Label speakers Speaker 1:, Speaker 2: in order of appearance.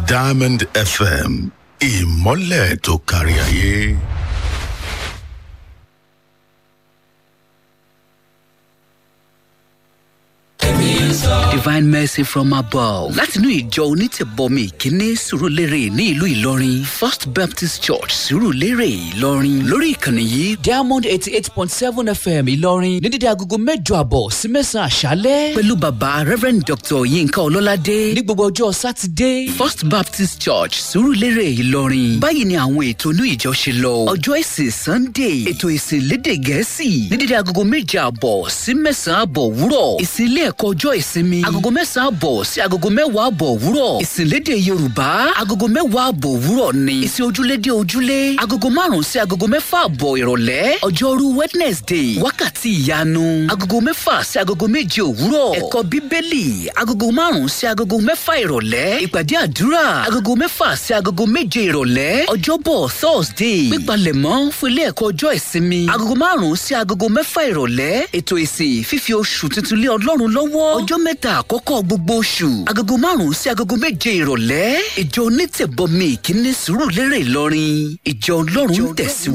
Speaker 1: Diamond FM, ìmọ́lẹ̀ tó kárí ayé.
Speaker 2: Divine mercy from above. Látinú ìjọ onítẹ̀bọmi ìkíní Sùúrùlérè ní ìlú Ìlọrin, First Baptist Church, Sùúrùlérè, Ìlọrin. Lórí ìkànnì yìí, Diamond 88.7 FM Ìlọrin, ní dídí agogo 8:30 sí 9 àṣálẹ́. Pẹ̀lú bàbá Reverend Dr. Yinka Ọlọ́ládé ní gbogbo ọjọ́ Sátidé. First Baptist Church, Sùúrùlérè, Ìlọrin. Báyìí ni àwọn ètò inú ìjọ ṣe lọ. Ọjọ́ ìsìn Sunday, ètò ìsìn lédè Gẹ̀ẹ́sì ní dídí agogo 7:30 sí 9:30 òwúrọ̀. Ìsìn ilé ẹ̀kọ́ ọjọ́ ìsinmi, agogo 9:30 sí agogo 10:30 òwúrọ̀. Ìsìnlédè Yorùbá, agogo 10:30 òwúrọ̀ ni. Ìsìn ojúlédé ojúlé, agogo 5 sí agogo 6:30 ìrọ̀lẹ́. Ọjọ́rú Wednesday, wákàtí ìyanu, agogo 6 sí agogo 7 òwúrọ̀. Ẹ̀kọ́ Bíbélì, agogo 5 sí agogo 6 ìrọ̀lẹ́. Ìpàdé àdúrà, agogo 6 sí agogo 7 ìrọ̀lẹ́. Ọjọ́bọ̀ Thursday, pípalẹ̀mọ́ fún ilé ẹ̀kọ́ ọjọ́ ìsinmi, agogo 5 sí agogo 6 ìrọ̀lẹ́. Ètò ìsìn fífi oṣù tuntun lé Ọlọ́run lọ́wọ́, ọjọ́ mẹ́ta àkọ́kọ́ gbogbo oṣù, agogo 5 sí agogo 7 ìrọ̀lẹ́. Ìjọ onítẹ̀bọmi ìkíní Sùúrùlérè Ìlọrin, ìjọ Ọlọ́run tẹ̀síwájú.